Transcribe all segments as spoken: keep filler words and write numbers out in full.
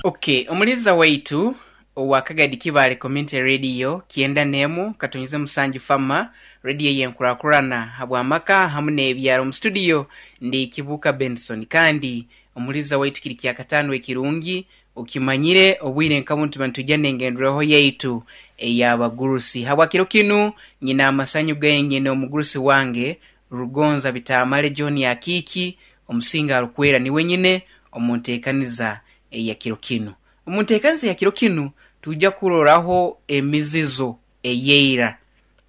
Okay, omuliza waitu owa Kagadi Kibaale Community Radio kyenda n'emu katonyize musanju fama radio yenkurakurana habw'amaka hamu n'ebyaro. Mu studio ndi Kibuuka Benson, kandi omuliza waitu kiri kyakataano ekirungi okimanyire obwire nka bunu tuba nitujja n'engenderwaho yaitu ey'abagurusi. Habwa kiro kinu nyina amasanyu gaingi omugurusi wange Rugonza Bitamale John Akiiki omusinga arukwera niwe nyine omu nteekaniza eya kiro kinu. Omu nteekaniza eya kiro kinu tujja kuroraho emizizo ey'eira,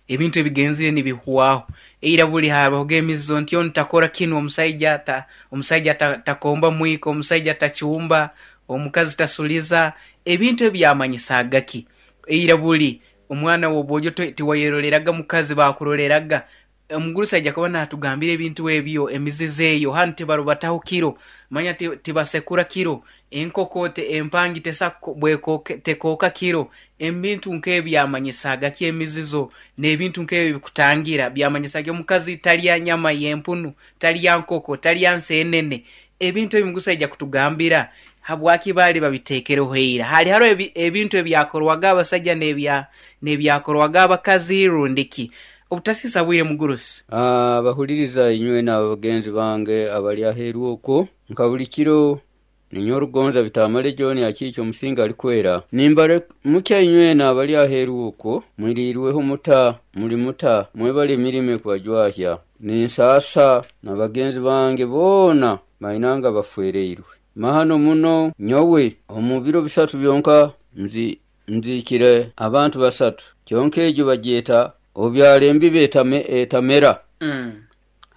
ebintu ebigenzire nibihwaho. Eira buli habahoga emizizo nti onu takora kinu, omusaija ta, omusaija ta, takomba mwiko, omusaija tacumba, omukazi tasuliza, ebintu ebi byamanyisaaga ki? Eira buli omwana w'obwojo tiwayeroreraga mukazi bakuroreraga. Omugurusi aija kuba naatugambira ebintu ebyo, emizizo eyo, hanu tibarubataho kiro, manya tibasekura kiro, enkoko empangi tesa tekooka kiro, ebintu nk'ebyo byamanyisaaga ki emizizo n'ebintu nk'ebyo ebikutangira byamanyisaaga ki? Omukazi talya nyama y'empunu, talya nkoko, talya nsenene. Ebintu ebi omugurusi aija kutugambira habwaki baali babiteekereho ira. Haali haroho ebintu ebyakorwaga abasaija n'ebyakorwaga abakazi rundi ki? Obutasiisa bwire mugurusi. Abahuliriza inywe n'abagenzi bange abali aheeru okwo, nka buli kiro ninyowe Rugonza Bitamale John Akiiki omusinga alikwera. Nimbaramukya inywena abali aheeru okwo, mwiriirweho muta, muli muta, mwebale emirimo ekubajwahya. Ninsaasa na bagenzi bange boona bainanga bafwereirwe. Mahano muno nyowe omu biro bisatu byonka nzi nziikire abantu basatu, kyonka egyo bagyeta obyara embibo etamera,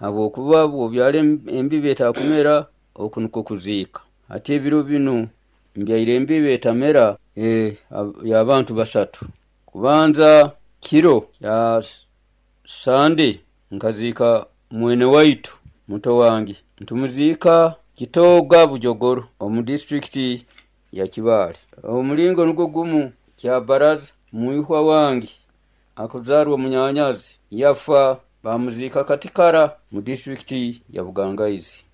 habwokuba bw'obyara embibo etakumera oku nikwo kuziika. Hati ebiro binu mbyaire embibo etamera y'abantu basatu. Kubanza kiro kya Sande nkaziika mwene waitu muto wange, nitumuziika Kitooga Bujogoro omu disiturikiti ya Kibaale. Omuringo nigwo gumu Kyabaraza mwihwa wange akuzaarwa munyanyazi yafa bamuziika Katikara mu disiturikiti ya Bugangaizi.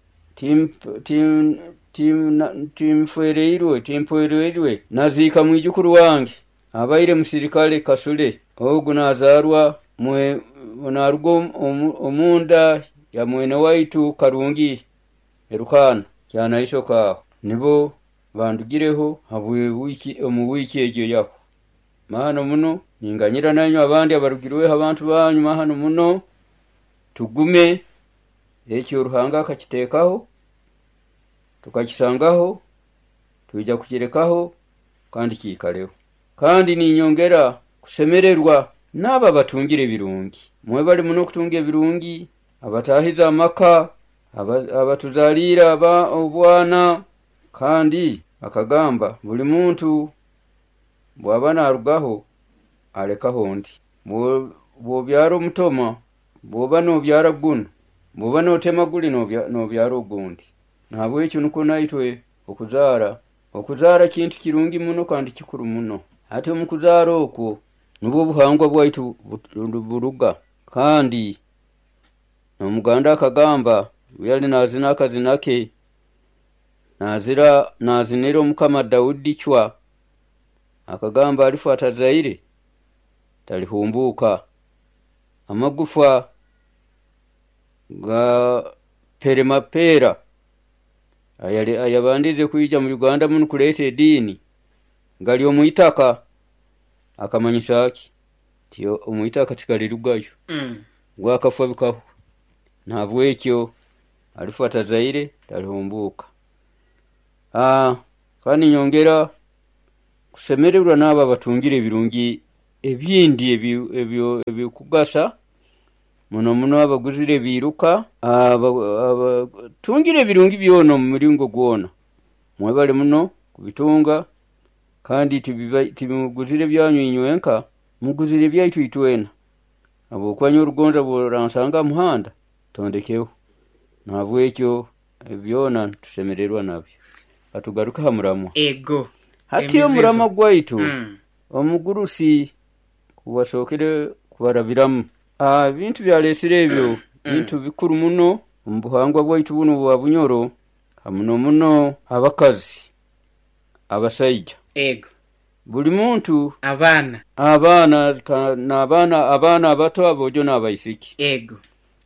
Tinfwereirwe timpwereirwe naziika mwijukuru wange abaire musirikale Kasule, ogu nazaarwa naruga omunda ya mwene waitu Karungi Erukaana Kyanaisoka aho nibo bandugireho omu wiiki egyo yahwa. Mahano muno ninganyira nainywe abandi abarugirweho abantu banyu mahano muno, tugume ekyo Ruhanga akakiteekaho tukakisangaho twija kukirekaho kandi kiikareho. Kandi ninyongera kusemererwa n'abo abatungire ebirungi. Mwebale muno kutunga ebirungi, abataahize amaka, abatuzaaliire obwana, kandi akagamba buli muntu bw'aba naarugaho alekaho ondi. Bw'obyara omutoma, bw'oba noobyara gunu, bw'oba nootema guli noobyara ogundi. Nahabwekyo nikwo naitwe okuzaara, okuzaara kintu kirungi muno kandi kikuru muno. Hati omu kuzaara okwo nubwo obuhangwa bwaitu buruga, kandi n'Omuganda akagamba obu yali naazina akazina ke, naazinira Omukama Daudi Chwa, akagamba alifa atazaire talihumbuuka. Amagufa ga Peremapeera ayabandize kwija mu Uganda munu kureeta ediini gari omwitaka, akamanyisa ki? Nti omwitaka tigarirugayo, ngu akafa bikahwa. Nahabwekyo alifa atazaire talihumbuuka. Kandi ninyongera kusemererwa n'abo abatungire ebirungi ebindi ebikugasa muno muno abaguzire ebiiruka, abatungire ebirungi byona omu muringo gwona. Mwebale muno kubitunga kandi timuguzire byanyu inywenka, muguzire ebyaitu itwena, habwokuba nyowe Rugonza obu oransanga aha muhanda tondekeho. Nahabwekyo ebi byona nitusemererwa nabyo. Katugaruke aha muramwa. Ego. Hati omuramwa gwaitu omugurusi kuwasookere kubarabiramu, ebintu byareesire ebyo bintu bikuru muno omu buhangwa bwaitu bunu obwa Bunyoro, muno muno abakazi. Abasaija Ego. Buli muntu Abaana. Abaana ka- n'abaana, abaana abato, aboojo n'abaisiki. Ego.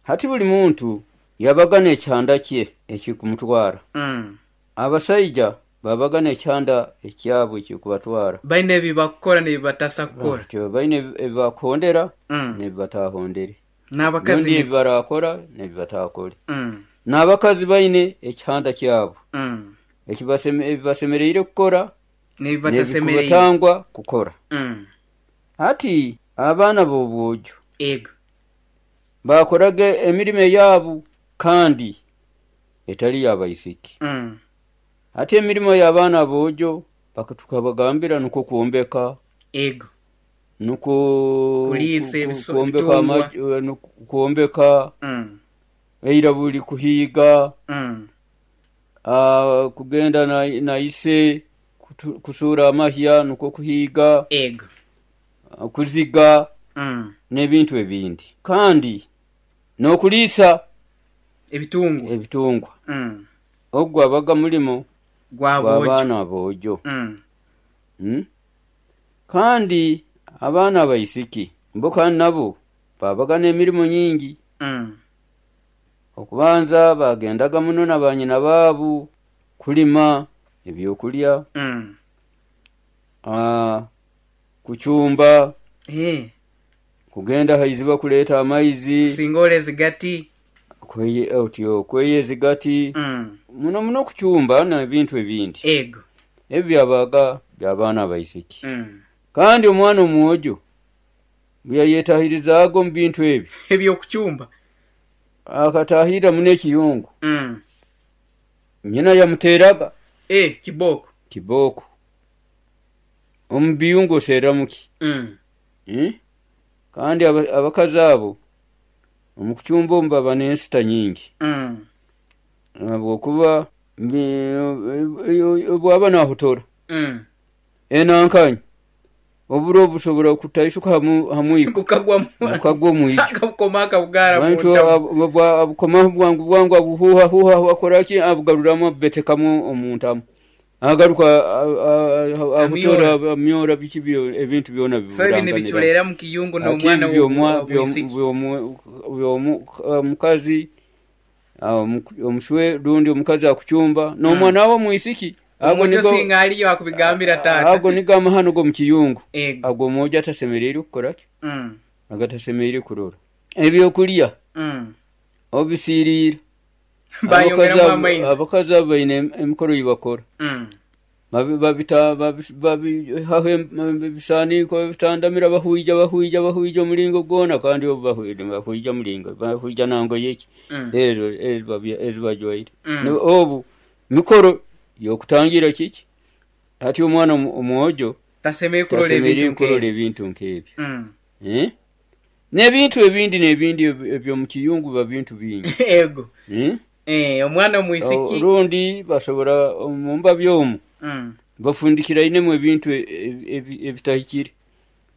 Hati buli muntu yabaga n'ekyanda kye ekikumutwara. Mm. Abasaija babaga n'ekyanda ekyabwe ekikubatwara. Baine ebibakukora n'ebibatasa kukora. Batyo, baine ebi- ebibakuhondera Mm. n'ebibatahondere. N'abakazi Rundi ni- ebibarakora n'ebibatakore. Mm. N'abakazi baine ekihanda kyabo Mm. ekibaseme- ebibasemereire kukora n'ebibatasemereire n'ebikubatangwa kukora. Mm. Hati abaana b'obwojo Ego. bakoraga emirimo eyaabo kandi etali y'abaisiki. Mm. Hati emirimo y'abaana aboojo baka- tukabagambira nukwo kwombeka, Ego. nukwo Kuliisa ku- ku- ebiso- kwombeka ebitungwa. ama- nuku- kwombeka, Mm. eira buli kuhiiga, Mm. ah, kugenda na, na ise kutu- kusuura amahya, nukwo kuhiiga, Ego. ah, kuziga Mm. n'ebintu ebindi, kandi n'okuliisa ebitungwa. Ebitungwa. Mm. Ogwo abaga mulimo gwaboojo. Gw'abaana aboojo. Mm. Mm? Kandi abaana abaisiki bo kandi nabo babaga n'emirimu nyingi. Mm. Okubanza bagendaga muno na banyina baabu kulima ebyokulya, Mm. ah, kucumba, Eh. kugenda haiziba kuleeta amaizi. Kusinga olezigati. Kweye- otyo kweya ezigati. Mm. Muno muno kucumba n'ebintu ebindi. Ego. Ebyo byabaga by'abaana abaisiki. Mm. Kandi omwana omwojo bwe yayetahirizaaga omu bintu ebyo, ebyokucumba, akatahirra muno ekiyungu, Mm. nyina yamuteeraga Eh, kibooko. Kibooko. Omu biyungu oserramuki? Mm. Eh? Kandi aba- abakazi abo omu kucumba omu baba n'ensita nyingi, Mm. habwokuba mbi- bwaba nahutora Mm. enankanya oburo busobora kutaisuka hamu hamwiko. Gukagwa. Bukagwa omwiko. Akabukoma akabugara mu Bantu ntamu. abukomaho bwangu bwangu, abuhuhahuha, akoraki, abugaruramu, abubetekamu omu ntamu, agaruka abutora, amyora, biki byo- ebintu byona. So ebi nibiculera mu kiyungu n'omwana w'obwisiki. Omukazi omuswe rundi omukazi akucumba n'omwana we omwisiki ago. Omuntu Nigo singa aliyo akubigambira taata. Ago nigo amahano g'omu kiyungu. Ego. Ago omwojo atasemereire kukoraki, Mm. agatasemereire kurora ebyokulya Mm. obisiiriira. Bayongeramu Abakazi abo- amaizi. Abakazi abo baine emikoro gibakora. Mm. Babi- babita babi- babihaho em- ebisaaniiko, babitandamira, bahuija bahuija bahuija omulingo gwona, kandi obu bahuija bahuija mulingo bahuija nangoye eki, Mm. ezo ezo babi- ezo bajwaire. Mm. Ne- obu mikoro yokutangira kiki, hati omwana omu- omwojo tasemereire kurora tasemereire ebintu kurora nk'ebyo. Ebintu nk'ebyo. Mm. Eh? N'ebintu ebindi n'ebindi ebi- eby'omu kiyungu biba bintu bingi. Ego. Eh? Eh, omwana omwisiki. Rundi basobora mu mbabi omwo Mm. bafundikirainemu ebintu e- e- ebitahikire.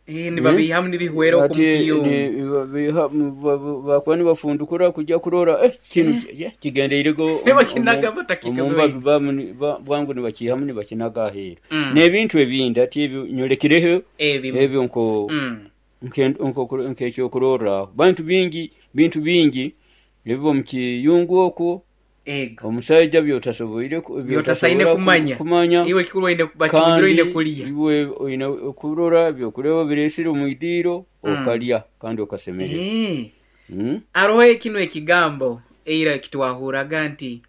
Eh, nibabihamu nibihwera Ati, okumukiyungu. ni- babiha- ba- ba- bakuba nibafundukura kujya kurora eh, kinu ki- kigendeirego. Nibakinaga batakika. Omumbabi bwangu nibakihamu nibakinaga aheeru Mm. n'ebintu ebindi. Ati ebyo nyolekireho ebimu. Ebyo nko Mm. nke- nko- nk'ekyokurorraho bantu bingi, bintu bingi ebiba omu kiyungu okwo. Ego. Omusaija byotasoboire ku- byotasaine byotasobora ku- kumanya. Kumanya. Iwe kikuru oine bakimbire oine kulya. Iwe oine kurora byokureba biresire omu idiiro, okalya kandi okasemererwa. Eh. Mm? Aroho kino ekigambo eira kitwahuraga nti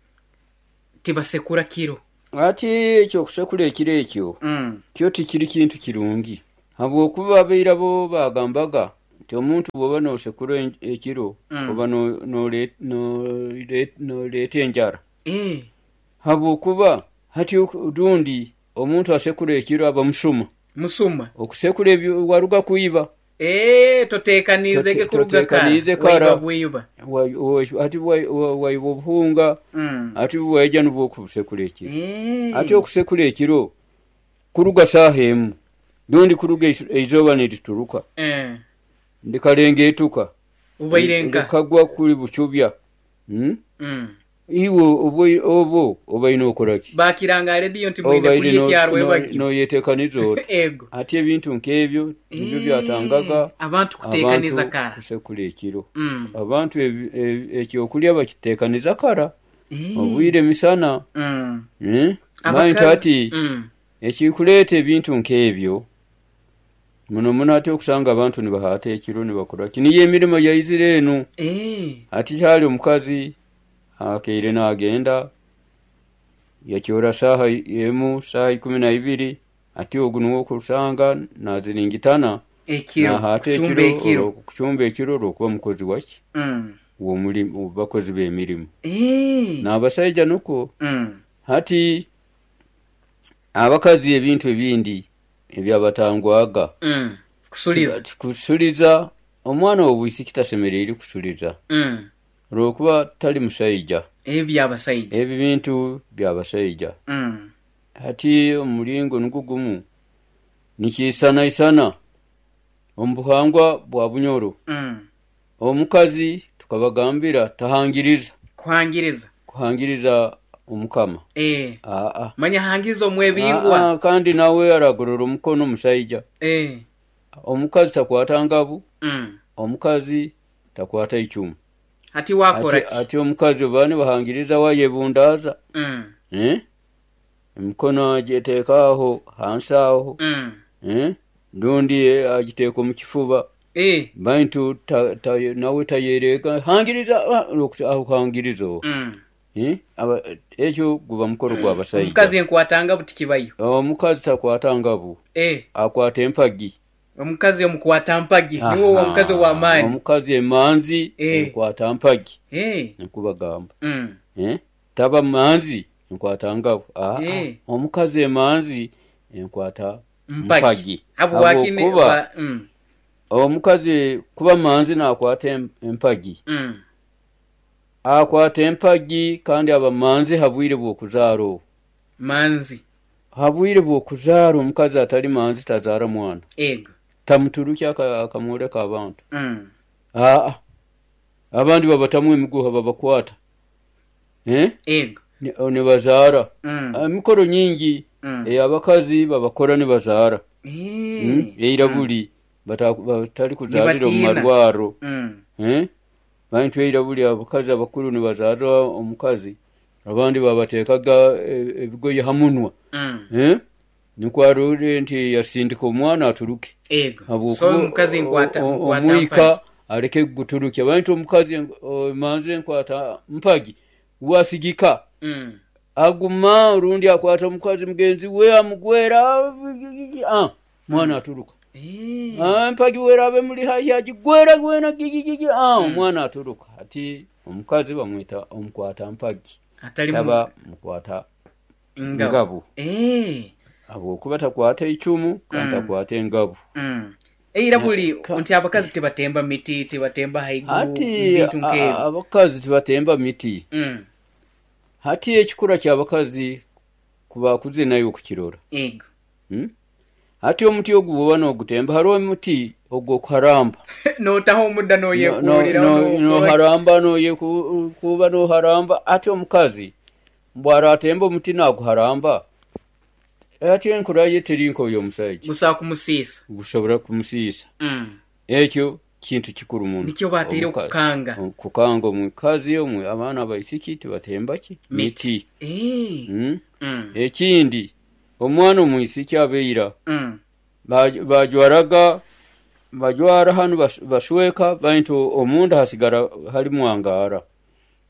tibasekura kiro. Ati ekyokusekura ekiro ekyo Mm. kyo tikiri kintu kirungi, habwokuba abaira bo bagambaga nti omuntu bwoba nosekura en- ekiro, Mm. oba no- nore- nore- noreeta enjara, Eh. habwokuba hati oku- rundi omuntu asekura ekiro aba musuma. Musuma. Okusekura ebyo waruga kwiba. Eh, toteekaniizege Tote- kuruga kara. Toteekaniize kara. Waiba bwiba. Wa- wa- ati wa- wa- waiba obuhunga, Mm. ati waija nibwo okubusekura ekiro. Eh. Ati okusekura ekiro kuruga saaha emu rundi kuruga eizu- eizooba nirituruka, Eh. ndikalenga etuka, ubaire nka likagwa kuli bucubya. Mm? Mm. Iwe obwo obaine okoraki? Bakiranga rediyo nti mwine kulya ekyarwebagyo. Noyetekaniza oti. Ego. Ati ebintu nk'ebyo nibyo byatangaga abantu kutekaniza kara. Kusekura ekiro. Abantu ekyokulya bakitekaniza kara. Obwire misana. Bantu ati ekikuleeta ebintu nk'ebyo muno muno ati okusanga abantu nibahaata ekiro nibakoraki niyo emirimo yaizire enu. Ati kyali omukazi akeire nagenda yakyora saaha emu, saaha ikumi na ibiri, ati ogu nuwe okusanga naziringitana nahaata ekiro, kucumba ekiro olwokuba mukozi waki? W'omurimo, bakozi b'emirimo. N'abasaija nukwo. Hati abakazi ebintu ebindi ebyabatangwaga Kusuliza. Kusuliza omwana w'obwisiki tasemeriire kusuliza olwokuba tali musaija. Ebi byabasaija. Ebi bintu byabasaija. Hati omulingo nugwo gumu nikiisanaisana omu buhangwa bwa Bunyoro. Omukazi tukabagambira tahangiriza. Kuhangiriza. Kuhangiriza omukama. Eh. Aa. Manya hangiriza omwebingwa. Kandi nawe aragorora omukono omusaija. Eh. Omukazi takwata ngabu. Mm. Omukazi takwata icumu. Ati wakora ki? Ati omukazi oba nibahangiriza wayebundaaza. Mm. Eh? Emikono agiteeka aho hansi aho. Mm. Eh? Rundi agiteeka omu kifuba. Eh. Bantu ta, ta, nawe tayereka hangiriza hangiriza owo. Mm. Eh? Aba, ekyo guba mukoro gw'abasaija. Omukazi enkwata ngabu tikibayo. Omukazi takwata ngabu. Eh. Akwata empagi. Omukazi omukwata mpagi. Niwe omukazi ow'amaani. Omukazi emanzi Eh. enkwata mpagi. Eh. Nkubagamba. Mm. Eh? Taba manzi enkwata ngabu. Ah, Eh. Omukazi emanzi enkwata Mpagi. mpagi. Habwaki Habwokuba mm. omukazi kuba manzi nakwata empagi. Mm. Akwata empagi kandi aba manzi habwire bw'okuzaara obwo. Manzi. Habwire bw'okuzaara omukazi atali manzi tazaara mwana. Ego. Tamuturukya akamworeka abantu. Mm. Aa. Abandi babatamu emiguha babakwata. Eh? Ego. Nibazaara. Mm. Emikoro nyingi Mm. ey'abakazi babakora nibazaara. Eh. Mm. Eira buli batali kuzaalira omu Nibatiina. marwaro. Mm. Eh? Bantu eira buli abakazi abakuru nibazaara omukazi abandi babateekaga ebigoye ha munwa. Mm. Eh? Nikwo arore nti yasindika omwana aturuke. Ego. So omukazi nkwata nkwata omwika aleke kuguturukya. Bantu omukazi manzi enkwata mpagi wasigika. Mm. Aguma orundi akwata omukazi mugenzi we amugwera ah, mwana aturuka. Eh. Ah, mpagi werabe muli haihi agigwera gwena gigigigi ah, omwana aturuka. Ati omukazi bamwita omukwata mpagi. Atali Taba mukwata ngabu. ngabu. Eh. Habwokuba takwata icumu kandi takwata engabu. Mm. Eira buli nti abakazi tibatemba miti, tibatemba haiguru, Hati bintu nk'ebyo. abakazi tibatemba miti. Mm. Hati ekikura ky'abakazi kuba kuze nayo okukirora. Ego. Hmm? Hati omuti ogu bw'oba n'ogutemba hariho omuti ogw'okuharamba. Notaho omudda noyeekuulira Noharamba noyekuuba noharamba. Ati omukazi bw'aratemba omuti naguharamba ati enkura ye teri nk'ey'omusaija. Gusobola kumusiisa. Gusobora kumusiisa. Mm. Ekyo kintu kikuru muno. Nikyo bateire okukanga. Kukanga omukazi omwe abaana abaisiki tibatemba ki? Miti. Eh. Mm? Mm. Ekindi omwana omwisiki abeira Mm. bajwaraga bajwara hanu basweka bantu omunda hasigara hali mwangara.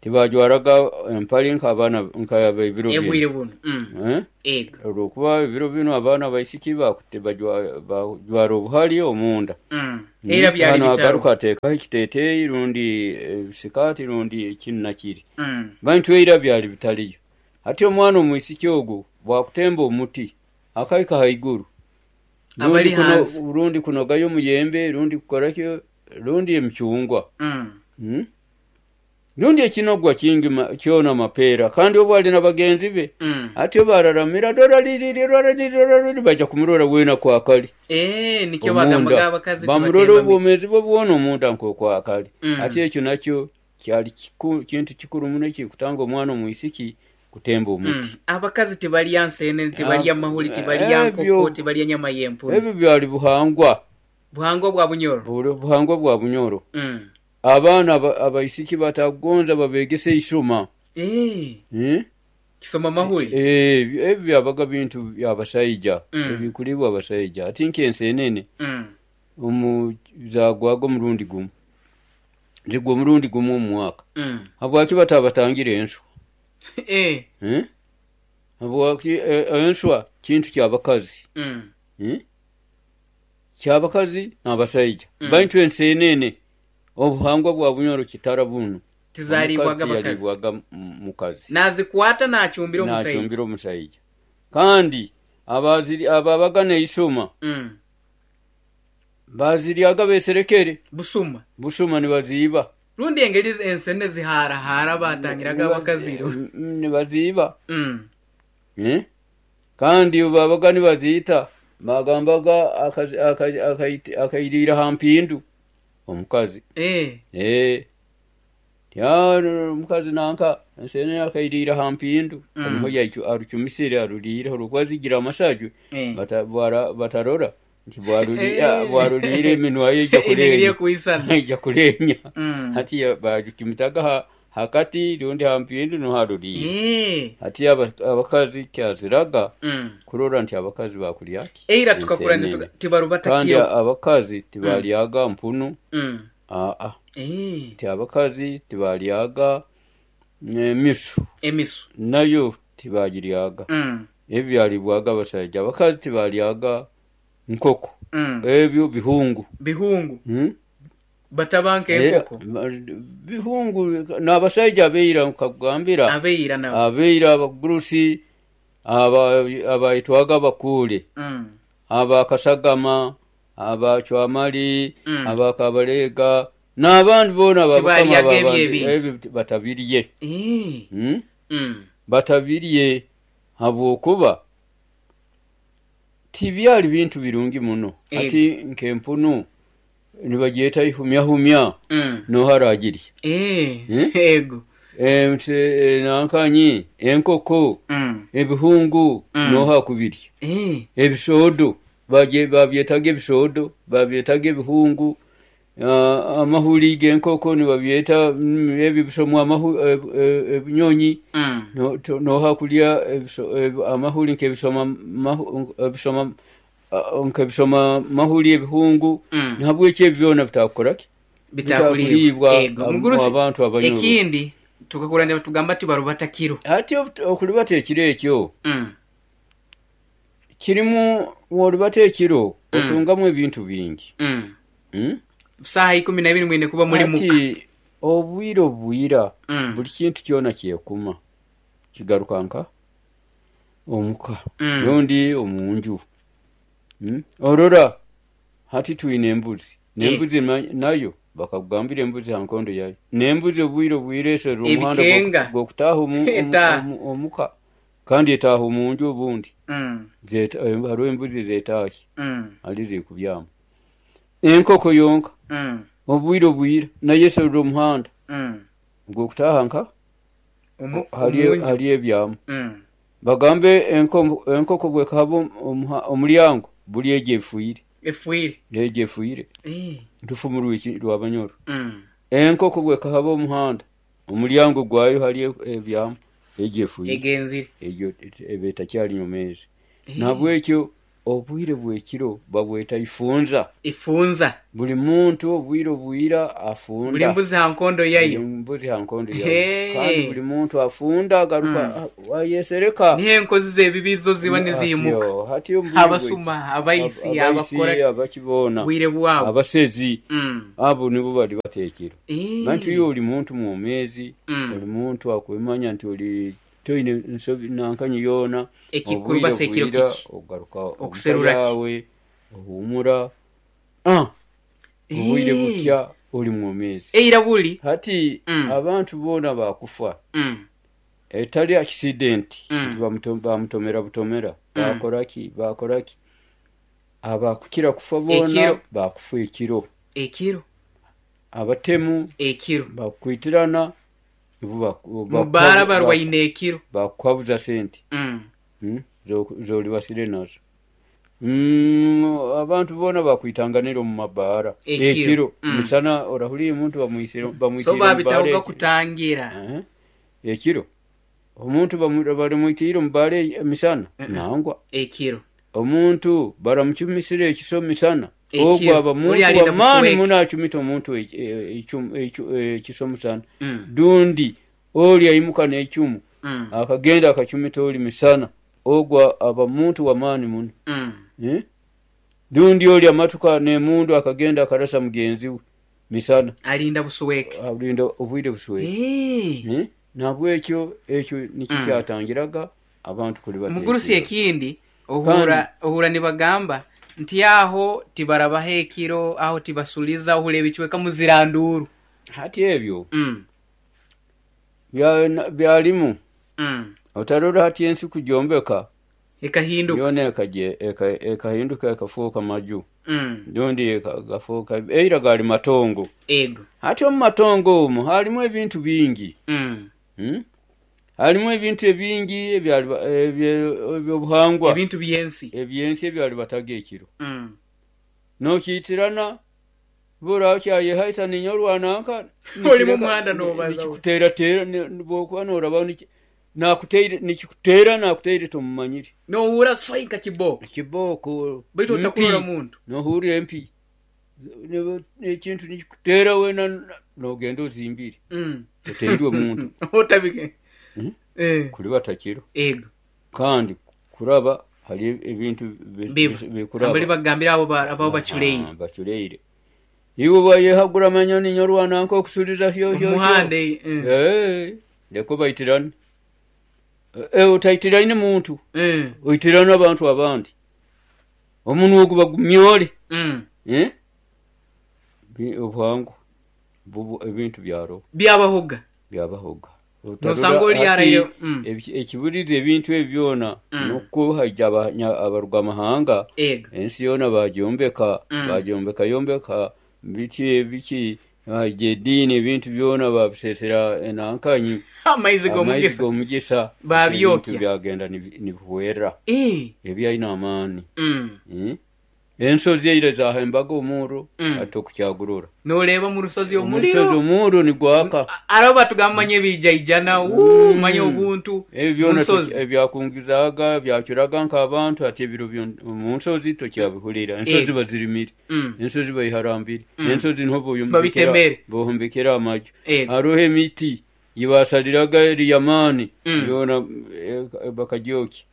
Tibajwaraga empali nk'abaana nk'ab'ebiro bino. Ebwire buno. Mm. Eh? Ego. Olwokuba ebiro bino abaana abaisiki bakutte bajwara obuhali omunda. Mm. Era byali Hano bitaro. agaruka ateekaho ekiteeteeyi rundi ebisikaati rundi kinu na kiri. Mm. Bantu eira byali bitaliyo. Hati omwana omwisiki ogu bwakutemba omuti akahika haiguru. Abali hansi. Rundi kunogayo omuyembe, rundi kukorakyo, rundi emicungwa. Mm. Mm? Rundi ekinogwa kingi kyona mapeera kandi obu ali na bagenzi be. Mm. Ati bararamira dora liri dora liri dora liri baja kumurora wena kwakali. Eh, nikyo bagambaga abakazi bamurora obwomeezi bwe bwona omunda nk'okwakali. Mm. Ati ekyo nakyo Kyali kiku, kintu kikuru muno ekikutanga omwana omwisiki kutemba omuti. Mm. Abakazi tibalya nsenene, tibalya mahuli, tibalya nkoko, Ebyo tibalya nyama y'empunu. Ebyo byali buhangwa. Buhangwa bwa Bunyoro. Buli buhangwa bwa Bunyoro. Mm. Abaana aba- abaisiki batakugonza babegese isoma. Eh, Eh? Kisoma mahuli. Eh, ebyo ebyo byabaga bintu byabasaija, Mm. ebikulibwa abasaija. Ati nkensenene Mm. omu zagwaga omurundi gumu, zigwa omurundi gumu omu mwaka. Mm. Habwaki batabatangire enswa? Eh. Eh? Habwaki eh, enswa kintu kyabakazi. Mm. Eh? Kyabakazi n'abasaija. Mm. Baitu ensenene obuhangwa bwa Bunyoro kitara bunu. Tizalibwaga Omukazi abakazi. tiyalibwaga mu- mukazi. Nazikwata nachumbira omusaija. Nachumbira omusaija. Kandi abaziri ababaga neisoma Mm. baziryaga beserekere. Busuma. Busuma nibaziiba. Rundi engeri ensene ziharahara batangiraga abakaziro. Mm, nibaziiba. Mm. Eh? Kandi babaga nibaziita bagambaga akazi- akazi- akaiti- akairiira ha mpindu omukazi. Eh. Eh. Ya omukazi nanka ensene akairiira ha mpindu. Mm. Niho yaicu arucumisire aruriire olwokuba zigira amasaju. Eh. Bata- bwara- batarora nti bwaruri- Eh. ah, bwaruriire eminwa ye ija Enegeri kulenya. ekuisana. Ija kulenya. Mm. Hati ya- bajucumitaga ha- hakati rundi ha mpindu niho aruriire. Eh. Hati aba- abakazi kyaziraga Mm. kurora nti abakazi bakulya ki? Eira tukakura Ensenene. tibarubata Kandi kiro. abakazi tibalyaga mpunu. Mm. Aa, Eh. nti abakazi tibalyaga emisu. Emisu. Nayo tibagiryaga. Mm. Ebyo byalibwaga abasaija. Abakazi tibalyaga nkoko. Mm. Ebyo bihungu. Bihungu. Hmm? Batabanka Eh, enkoko. ma- bihungu n'abasaija abeira nkakugambira. Abeira nabo. Abeira abagurusi aba- abaitwaga abakuule. Mm. Abakasagama, abacwamali, Mm. abakabalega n'abandi boona ababukama Tibalyaga ebyo abandi, ebintu. ebyo batabirye. Eh. Hmm? Mm. Batabirye habwokuba tibyali bintu birungi muno. Ego. Ati nk'empunu nibagyeta ihumyahumya. Mm. Noho aragirya. Eh. Eh? Ego. Ense- nankanyi enkoko, Mm. ebihungu, Mm. noho akubirya. Eh. Ebisoodo bagye- babyetaga ebisoodo, babyetaga ebihungu. Ah, amahuli g'enkoko nibabyeta mm, ebyo bisomwa amahu- eh, eh, ebinyonyi. Mm. No- to- noha kulya ebiso- eb- amahuli nk'ebisoma mahu- ebisoma ah, nk'ebisoma mahuli ebihungu. Mm. Nahabweki ebyo byona bitakukoraki. Bitakulibwa. Bitakulibwa Ego. ab- Mugurusi, abantu abanyoro. ekindi tukakura tugamba tibarubata kiro. Ati obu- okulibata ekiro ekyo Mm. kirimu wolibata ekiro Mm. otungamu ebintu bingi. Mm. Mm? Saha ikumi na ibiri mwine kuba muri muka. Ati obwire obwira, Mm. buli kintu kyona kyekuma kigaruka nka omuka Mm. rundi omunju. Mm? Orora hati twine embuzi nembuzi na- nayo bakakugambira embuzi ha nkondo yayo nembuzi obwire obwire eserera omuhanda Ebikenga. gw'oku- gw'okutaaha omu- omu- Etaaha. omu- omuka kandi etaaha omunju obundi. Mm. Zeta- eh, hariho embuzi zetaahi Mm. hali zikubyama enkoko yonka. Mm. Obwire obwire nayo eserera omuhanda Mm. gw'okutaaha nka Omu- hali omunju. hali ebyamu. Mm. Bagambe enko- enkoko bwekahaba omuha- omulyango buli egyo efuire. Efuire. Egyo efuire. Eh. Ntufumu rwiki rwabanyoro. Mm. Enkoko bwekahaba omuhanda omulyango gwayo hali ebyamu egyo efuire. Egenzire. Egyo eba etakyali nyomeezi. Nabwekyo obwire bwekiro babweta ifunza. Ifunza. Buli muntu obwire obwira Buli afunda. mbuzi ha nkondo Buli yayo. mbuzi ha nkondo yayo. Hey. Kandi buli muntu afunda agaruka ayesereka. Niho enkozi z'ebibi zo ziba niziimuka. Hatyo- hatyo obwire Abasuma, abaisi, Ab- abaisi, abakora abakiboona, bwire bwabo. abasezi. Mm. Abo nibo bali bateekero. Eh. Bantu iyo oli muntu mwomeezi, Mm. oli muntu akwemanya nti oli toine nsobi nankanyi yoona. Ekikuru Obwire basa ekiro bwira, kiki? ogaruka Okuserura ki? yawe ohumura. Ah, obwire Eh. butya oli mwomeezi. Eira buli. Hati Mm. abantu boona bakufa Mm. etali accident, Mm. nti bamuto- bamutomera butomera, bakoraki bakoraki, abakukira kufa boona Ekiro. bakufa ekiro. Ekiro. Abatemu Ekiro. Bakwitirana nibo baku- Mubara baku- barwaine ekiro. Bakukwabuza sente. Mm. Mm, zo- zolibasire nazo. Mm, abantu boona bakwitanganira omu mabaara Ekiro. ekiro. Mm. Misana orahuriire omuntu bamwisire So bamwitiire omu baara babitahoga ekiro. kutangira. Eh, ekiro omuntu bamu- baramwitiire omu baara e- misana nangwa. Ekiro. Omuntu baramucumisire ekiso misana. Ekiro. Ogwo aba muntu Oli alinda wamaani busweke. muno acumita omuntu eki- e- ekimu- ekimu- ekiso musana. Mm. Dundi oli aimuka n'ecumu Mm. akagenda akacumita oli misana, ogwo aba muntu wamaani muno. Mm. Eh? Dundi oli amatuka n'emundu akagenda akarasa mugenzi we misana. Alinda busweke. Alinda obwire busweke. Eh. Eh? Nabwekyo ekyo nikyo Mm. kyatangiraga abantu kulibata Mugurusi, ekiro. ekindi ohura ohura nibagamba nti aho tibarabaha ekiro, aho tibasuliza, ohura ebicweka muziranduru. Hati ebyo mm. bya- na- byalimu. Mm. Otarora hati ensi kujombeka Ekahinduka. yona ekaje- eka- ekahinduka ekafuuka maju. mm. Dundi eka- gafuuka, eira gali matongo. Ego. Hati omu matongo omwo halimu ebintu bingi. mm. Hmm? Halimu ebintu ebingi ebyali- ebye- ebyobuhangwa. Ebintu byensi. Ebyensi ebyalibataga ekiro. mm. Nokiitirana bora kyayehaisa ninyorwananka. Oli mu muhanda nobaza. Nikikuteerateera bwokuba noraba niki- nakuteire nikikuteera nakuteire tomumanyire. Nohura swai nka kiboko. Kibooko. Baitu otakurora Mpi. muntu. Nohurira empi. Ne- ekintu nikikuteera wena nogenda ozimbire. mm. Oteirwe muntu. Otabike. Hmm? Eh. Kulibata kiro. Ego. Kandi kuraba hari ebintu bi- Biba bi- bikuraba. Ambali bagambira abo ba- abo baculeire. Ah, baculeire iwe wayehagura manyoni nyorwananka okusuliza hyo hyo hyo. Omuhanda eh. Eh, leko baitirane. Eh, otaitirane muntu. Eh. Oitirane abantu abandi omunwa ogu bagumyole. Mm. Eh? Bi- obuhango bubu ebintu byaro Byabahoga. Byabahoga. Nosanga oli Hati, araire- mm. ebi- ekiburiza ebintu ebi byona Mm. nokwo haija abanya- abaruga mahanga. Ego. Ensi yoona bagyombeka. Mm. Bagyombeka yombeka biki biki, haija ediini ebintu byona babisesera enankanyi. Amaizi Amaizi g'omugisa. g'omugisa. Babyokya. Ebintu byagenda nibi- nibihwera. Eh. Ebyalina amaani. Mm. Eh? Ensozi eira zahembaga omuro. Mm. Ati okukyagurura Noreeba mu rusozi omusozi omuliro. Omuro nigwaka. Aro batugamba manye ebijaijana mm. manye obuntu. Ebyo byona munsozi. tuki- ebyakungizaaga byacuraga nk'abantu ati ebiro byo- mu nsozi tokyabihurira, ensozi Eh. bazirimire. Mm. Ensozi bayiharambire, ensozi niho boyombekera- Babitemere. bohombekera amaju. Ego. Hariho emiti yibasaliraga eriyamaani. Mm. Byona eh, bakagyokya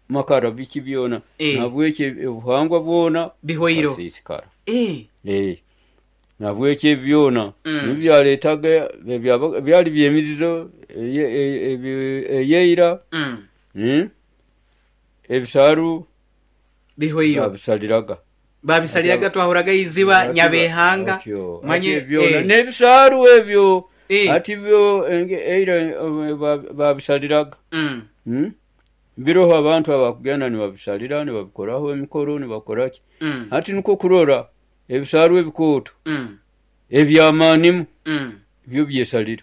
makara biki byona. Eh. Nabwekyo obuhangwa bwona Bihwairo. bwasiisikara. Eh. Eh, nabwekyo ebyo byona Mm. nibyo byaleetaga ebyaba- byali byemizizo eye- eye- ebe- eyeira. Mm. Mm? Ebisaaru Bihwairo. babisaliraga. Babisaliraga, twahuraga iziba nyabehanga. Atyo, manye ati byona eh. n'ebisaaru ebyo. Eh. Ati byo enge- eira eh, ba- babisaliraga. Mm. Mm? Biroho abantu abakugenda nibabisalira nibabikoraho emikoro nibakoraki. Mm. Ati nikwo kurora ebisaaru ebikooto Mm. ebyamaanimu Mm. byo byesalira.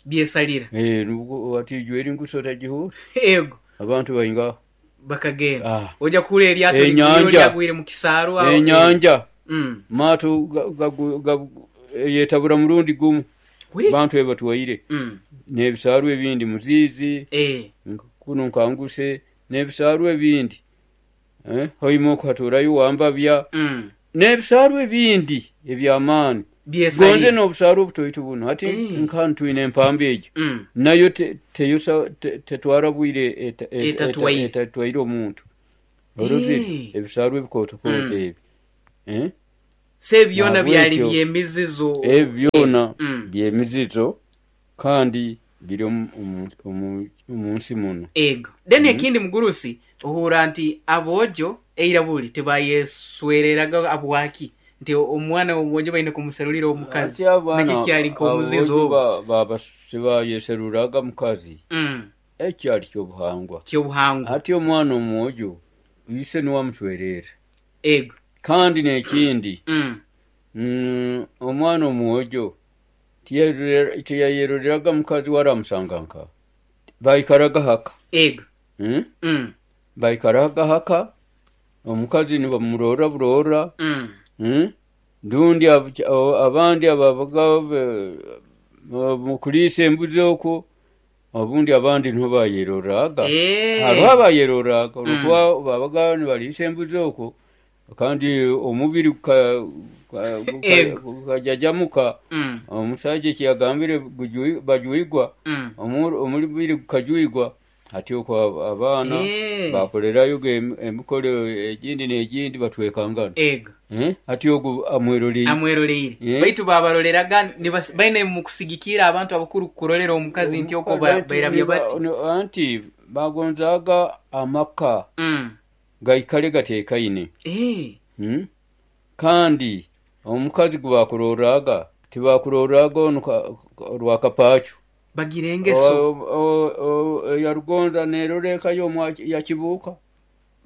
Byesalira. Eh, nubwo ati ijweri nguso tagihura. Ego. Abantu baingaho. Bakagenda. Ah. Ojja kuhura eryato Enyanja. ligwire- lyagwire mu kisaaru aho. Enyanja. Mm. Maato ga- gagu- gagu- yetabura murundi gumu. Wi. Bantu ebatwaire Mm. n'ebisaaru ebindi muziizi. Eh. nk- kuno nkanguse n'ebisaaru ebindi. Eh, hoima okuhaturayo wambabya. Mm. N'ebisaaru ebindi ebyamaani gonze. Byesalira. N'obusaaru obutoito buno hati Eh. nka ntwine empamba egyo. Mm. Nayo te- teyosa te- tetwara bwire eta- eta- Etatwaire. etatwaire omuntu orozire. Eh. Ebisaaru ebikootokoto Mm. ebi. Eh? Se byona byali Nabwekyo byemizizo. Ebyo byona Mm. byemizizo kandi biri omu- omu- omu omu nsi muno. Ego, then ekindi mugurusi ohura nti abojo eira buli tebayeswereraga abwaki nti omwana omwojo baine kumuserulira omukazi. Ati abaana Naki kyali nk'omuzizo abojo ogwo. ba- baba sibayeseruraga mukazi. Mm. Ekyali kyobuhangwa. Kyobuhangwa. Ati omwana omwojo ise niwamuswerera. Ego. Kandi n'ekindi Mm. Mm, omwana omwojo tiyerorera- tiyayeroreraga mukazi waramusanga nka baikaraga haka. Ego. Mm? Mm. Baikaraga haka, omukazi nibamurora burora. Mm. Mm? Rundi ab- abandi ababaga be- mukuliisa embuzi okwo, obundi abandi niho bayeroraga. Eh. Hariho abayeroraga olwokuba babaga nibaliisa embuzi okwo, kandi omubiri guka- guka- guka- Ego. gukajajamuka. Mm. Omusaija ekiyagambire gujui- bajwigwa. Mm. Omu- omubiri gukajwigwa hati okwo ab- abaana Eh. bakolerayo em- emikoro egindi n'egindi batwekangana. Ego. Eh? Hati ogu amweroleire. Amweroleire. Eh? Baitu babaroreraga nibas- baine mukusigikira abantu abakuru kurolera omukazi nti okwo ba- Anti bairabya niba- bati. ni- anti bagonzaga amaka Mm. gaikale gatekaine. Eh. Hmm? Kandi omukazi gwe bakuroraga tibakuroraga onu ka- ka- rwakapachu. Bagira engeso. O- o- o- yarugonza nerora eka yo yakibuuka.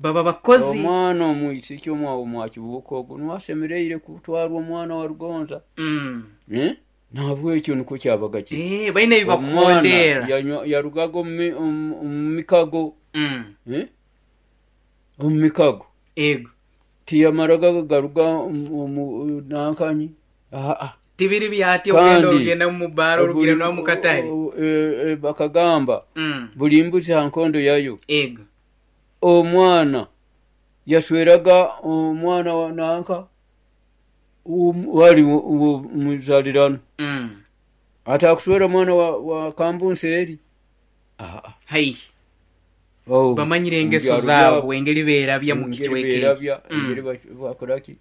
Baba bakozi. Omwana omwisiki omwa omwakibuuka ogwo niwasemereire kutwarwa omwana wa Rugonza. Mm. Eh? Nahabwekyo nikwo kyabaga kiri. Eh, baine Omwana ebibakondera. yanywa- yarugaga omu mi- omu omu mikago. Mm. Eh? Omu mikago. Ego. Tiyamaraga garuga omu- omu nankanyi. Aa. Tibiri byati ogenda Kandi orugenda mu baro orugenda buli- no mu katale. o- e- e, bakagamba Mm. buli mbuzi ha nkondo yayo. Ego. Omwana yasweraga omwana wa nanka um- wali muzalirano. Mm. Atakuswera mwana wa, wa kambunsi eri. Aa. Hai. Oh, Bamanyire engeso mubyaro zaabwe byabo. engeri beerabya mu Engeri kicweka ekyo. beerabya, Mm. engeri bak- bakoraki.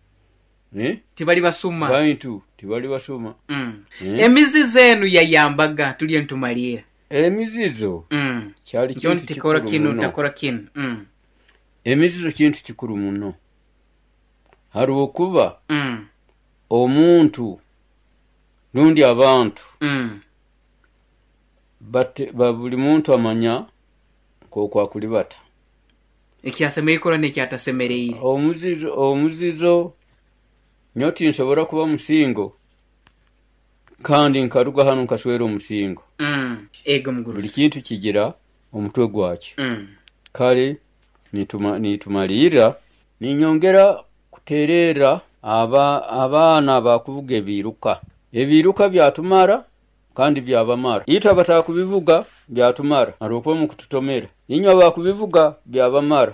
Eh? Tibali basuma. Bantu tibali basuma. Mm. Eh? Emizizo enu yayambaga tulye ntumalira. Emizizo Mm. kyali Njo kintu ntikora kikuru kinu muno. ntakora kinu. Mm. Emizizo kintu kikuru muno, harwokuba Mm. omuntu rundi abantu Mm. bate, ba buli muntu amanya nk'oku akulibata. Ekyasemereire kukora n'ekyatasemereire. Omuzizo omuzizo nyowe tinsobora kuba musingo kandi nkaruga hanu nkaswera omusingo. Mm. Ego Buli mugurusi. kintu kigira omutwe gwakyo. Mm. Kale nituma, nitumalirra ninyongera kutererra aba, abaana bakuvuga ebiiruka. Ebiiruka byatumara kandi byabamara. Itwe abatakubivuga byatumara harwokuba mukututomera. Inywe abakubivuga byabamara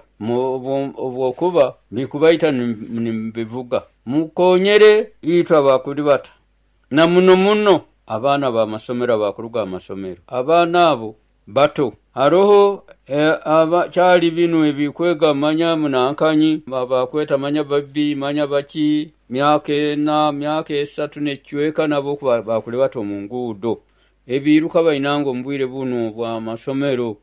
obwokuba bikubaita nimubivuga. Mukonyere itwe abakulibata na muno muno abaana b'amasomero abakuruga amasomero. Abaana abo bato haroho eh, aba kyali binu ebikwega manya munankanyi bakweta manya babbi manya baki myaka ena myaka esatu necweka nabo kuba- bakulibata omu nguudo. Ebiiruka bainanga omu bwire bunu bw'amasomero,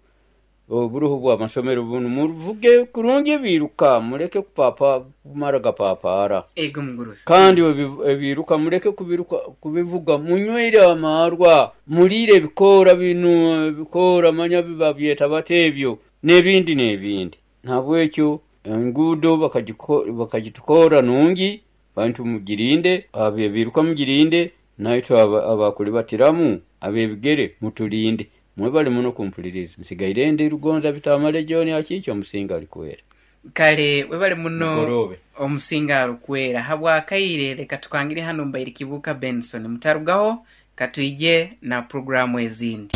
oburuho bw'amasomero bunu, muvuge kurungi ebiiruka, muleke kupapa kumara gapapaara. Ego mugurusi. Kandi ebi- ebiiruka muleke kubiruka kubivuga munywere amarwa, muliire ebikoora binu, ebikoora manya babyeta bata ebyo n'ebindi n'ebindi. Nabwekyo enguudo bakagiko- bakagitukoora nungi, bantu mugirinde, abebiiruka mugirinde, naitwe aba- abakulibatiramu ab'ebigere mutulinde. Mwebale muno kumpuliriza. Nsigaire ndi Rugonza Bitamale John Akiikyo omusinga alikwera. Kale webale muno. Mugoroobe. Omusinga arukwera habwakaire, leka tukangire hano mbaire Kibuuka Benson mutarugaho katwije na programu ezindi.